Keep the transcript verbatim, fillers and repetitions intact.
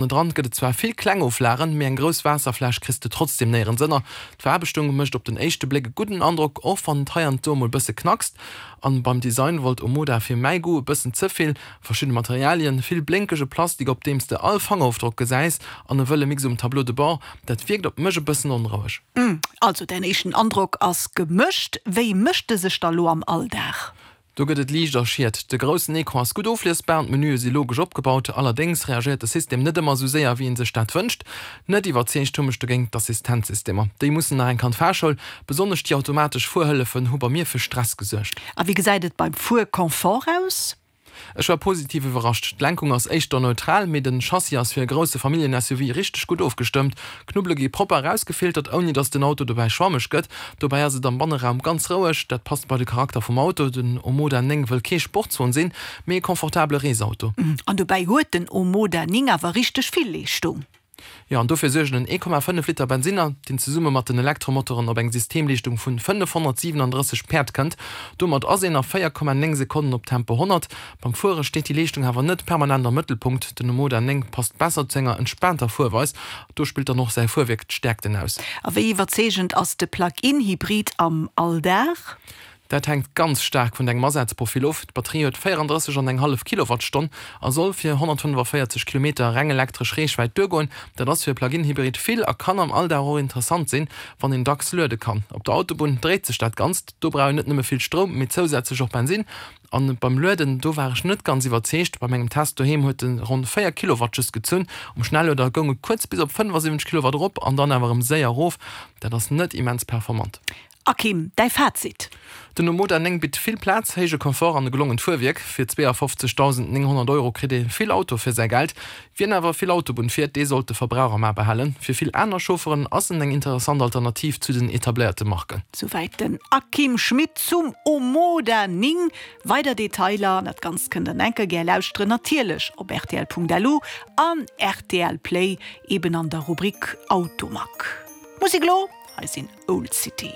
Ënnendran gëtt et zwar vill kleng Oflagen, mee eng grouss Waasserfläsch kriss de trotzdem néierens ënner. D'Veraarbechtung mécht op den éischte Bléck e gudden Androck, och wann et hei an do mol bësse knackst. An beim Design wollt Omoda fir mäi Goût e bëssen ze vill, verschidde Materialien, vill blénkege Plastik op deem s de all Fangerofdrock gesäis an e wëlle Mix um Tableau de bord, dat wierkt op mech e bëssen onroueg. Also däin éischten Androck ass gemëscht. Wéi mécht e sech da lo am Alldag? Do gëtt et Liicht a Schiet. De groussen Ecran ass gutt ofliesbar an d'Menüe si logesch opgebaut. Allerdéngs reagéiert de System net ëmmer esou séier, wéi ee sech dat wënscht. Net iwwerzeegt hu mech dogéint d'Assistenzsystemer. Déi mussen nach eng Kand Fahrschoul. Besonnesch déi automatesch Fuerhëllefen hu bei mir fir Stress gesuergt. A wéi gesäit et beim Fuerconfort aus? Ech war positiv iwwerrascht. D'Lenkung ass éischter neutral, mee den Chassis ass fir e grousse Familljen-S U V richteg gutt ofgestëmmt. D'Knubbele gi propper erausgefiltert, ouni dass den Auto dobäi schwammeg gëtt. Dobäi ass et am Banneraum ganz roueg, dat passt bei de Charakter vum Auto. Den Omoda néng wëll kee Sportswon sinn, mee e confortabele Reesauto. An dobäi huet den Omoda néng awer richteg vill Leeschtung. Jo, an dofir suergen en ee Komma fënnef Liter Bensinner, deen zesumme mat den Elektromotoren op eng Systemleeschtung vun fënnefhonnertsiwenandrësseg Päerd kënnt. Domat ass een a véier Komma néng Sekonnen op Tempo honnert. Beim Fuere steet déi Leeschtung awer net permanent am Mëttelpunkt. Den Omoda néng passt besser zu enger entspaanter Fuerweis. Do spillt dann och säi Fuerwierk d'Stäerkten aus. A wéi iwwerzeegend ass de Plug-in-Hybrid am Alldag? Dat hänkt ganz staark vun dengem Asazprofil of. D'Batterie huet véierandrësseg an eng hallef Kilowattstonn a soll fir honnertfënnefavéierzeg Kilometer reng elektresch Reechwäit duergoen. Dat ass fir e Plug-in-Hybrid vill a kann am Alldag och interessant sinn, wann een dacks luede kann. Op der Autobunn dréit sech dat Ganzt, do brauch een net nëmme vill Stroum, mee zousätzlech och Bensin. An beim Lueden, do war ech net ganz iwwerzeegt. Bei mengem Test doheem huet e ronn véier Kilowatt just gezunn. Um Schnellueder goung et kuerz bis op fënnefasiwwenzeg Kilowatt erop an dann awer erëm séier erof. Dat ass net immens performant. Akim, däi Fazit? Den Omoda néng bitt vill Plaz, héije Confort an e gelongent Fuerwierk. Fir zweeafofzegdausendnénghonnert Euro kritt ee vill Auto fir säi Geld. Wien awer vill Autobunn fiert, dee sollt de Verbrauch am A behalen. Fir vill aner Chaufferen ass en eng interessant Alternativ zu den etabléierte Marken. Souwäit den Akim Schmit zum Omoda néng. Weider Detailer an dat Ganzt kënnt der enker gär lauschteren, natierlech op rtl Punkt L U an R T L Play, eben an der Rubrik Automag. Musek elo, hei sinn Old City.